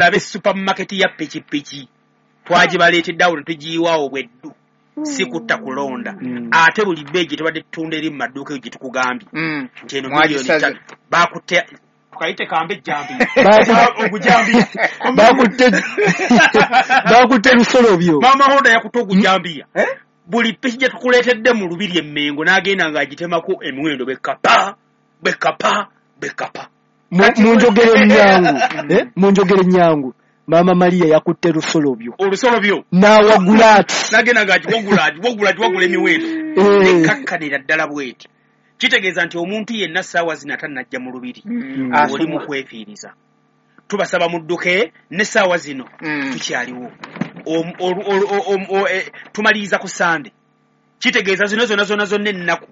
Olabe supermarket ya pikipiki twagibaleetedde awo ne tugiyiwaawo bweddu, si kutta kulonda. Ate buli bbeeyi gye tubadde tutunda eri mu maduuka eyo gye tukugambye nti eno miliyoni Mwagisaze. 5, bakutte tukayite kambe ejjambiya. Ogujambiya. Bakutte ebisolo byo. Maama Honda yakutte ogujambiya. Eh? Buli piki gye tukuleetedde mu lubiri emmengo n'agenda ng'agitemako emiwendo bekapa bekapa bekapa. Mu njogera ennyangu, eh? Mu njogera ennyangu, Maama Maria yakutte lusolo byo. Olusolo byo. N'awagula ati. N'agenda ng'agiwagula agiwagula agiwagula emiwendo. Eh. Nekakkanira ddala bweti. Kitegeeza nti omuntu yenna ssaawa zino atannajja mu lubiri oli mu kwefiiriza. Tubasaba mudduke n'essaawa zino tukyaliwo. Tumaliriza ku Sande. Kitegeeza zino zonna zonna zonna ennaku.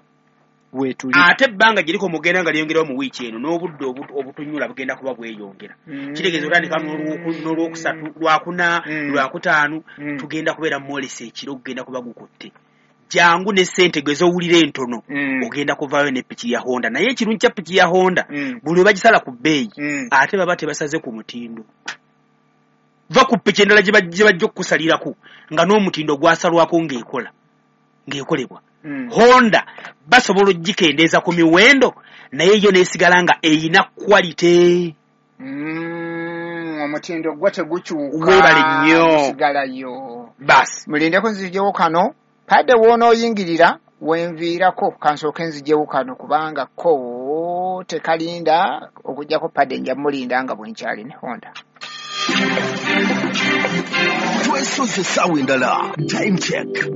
Weetuli. Ate ebbanga gye liko mugenda nga lyongerawo mu wiiki eno n'obudde obutunyula bugenda kuba bweyongera. Kitegeeza otandika n'olwokusatu, lwakuna, lwakutaano, tugenda kubeera mwolesa ekiro gugenda kuba gukutte. Jangu ne ssente gwe z'owulira entono, ogenda kuvaayo ne piki ya Honda. Naye ekirungi kya piki ya Honda, buli lwe bagisala ku bbeeyi, ate baba tebasaze ku mutindo. Va ku piki endala gye bajja okukusalirako nga n'omutindo gwasalwako ng'ekolebwa. Honda basobola okugikendeeza ku miwendo naye yo n'esigala nga eyina quality. Omutindo gwo tegukyuka. Weebale nnyo. Gusigalayo. Baasi. Mulindeko nzijewo kano. Padde w'onooyingirira wenviirako kansooke nzijewo kano kubanga ko tekalinda okuggyako padde nja mulinda nga bwe nkyali ne Honda. Twesoze essaawa endala. Time check.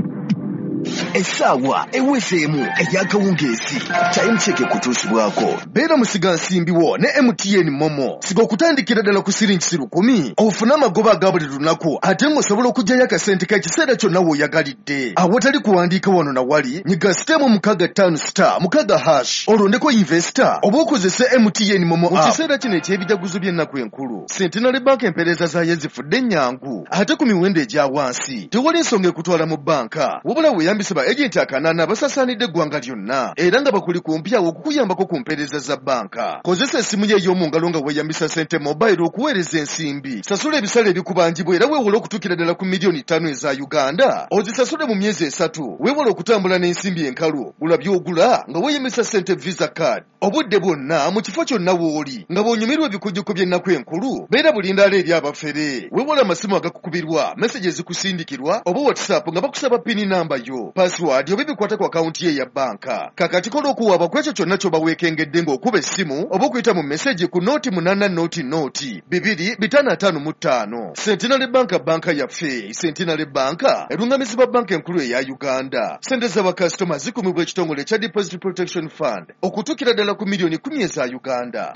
Essaawa ewezeemu ey'akawungeezi. Time check ekutuusibwako. Beera musigansimbi wo ne MTN Momo. Siga okutandikira ddala ku siringi 1,000 ofune amagoba aga buli lunaku ate ng'osobola okuggyayo akasente k'ekiseera kyonna w'oyagalidde. Awatali kuwandiika wano na wali, nyiga *656*6# olondeko investor oba okozese MTN Momo app. Mu kiseera kino eky'ebijaguzo by'ennaku enkulu, Centenary Bank empeereza zaayo zifudde ennyangu ate ku miwendo egya wansi. Tewali nsonga ekutwala mu bbanka, wabula weeyambise ba agenti akanaana abasasaanidde eggwanga lyonna era nga bakuli kumpi awo okukuyambako ku mpeereza za bbanka. Kozesa essimu yo ey'omu ngalo nga weeyambisa Sente Mobile okuweereza ensimbi. Sasula ebisale ebikubanjibwa era weewole okutuukira ddala ku miliyoni 5 eza Uganda. Ozisasule mu myezi 3. Weewole okutambula n'ensimbi enkalu. Gula by'ogula nga weeyambisa Sente Visa Card. Obudde bwonna mu kifo kyonna w'oli nga bw'onyumirwa ebikujjuko by'ennaku enkulu, beera bulindaala eri abafere. Weewole amasimu agakukubirwa, message ezikusindikirwa oba WhatsApp nga bakusaba PIN namba yo, password oba ebikwata ku akawunti ye eya bbanka. Kakati kola okuwaaba ku ekyo kyonna ky'oba weekengedde ng'okuba essimu oba okuyita mu message ku 0800 255. Centenary Bank banka yaffe. Centenary Bank erungamizibwa banka enkulu eya Uganda. Ssente z'abakasitoma zikumibwa ekitongole ekya Deposit Protection Fund okutuukira ddala ku miliyoni 10 eza Uganda.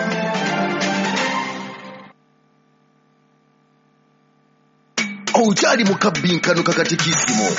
Okyali mu kabbinkano kakatikisimu.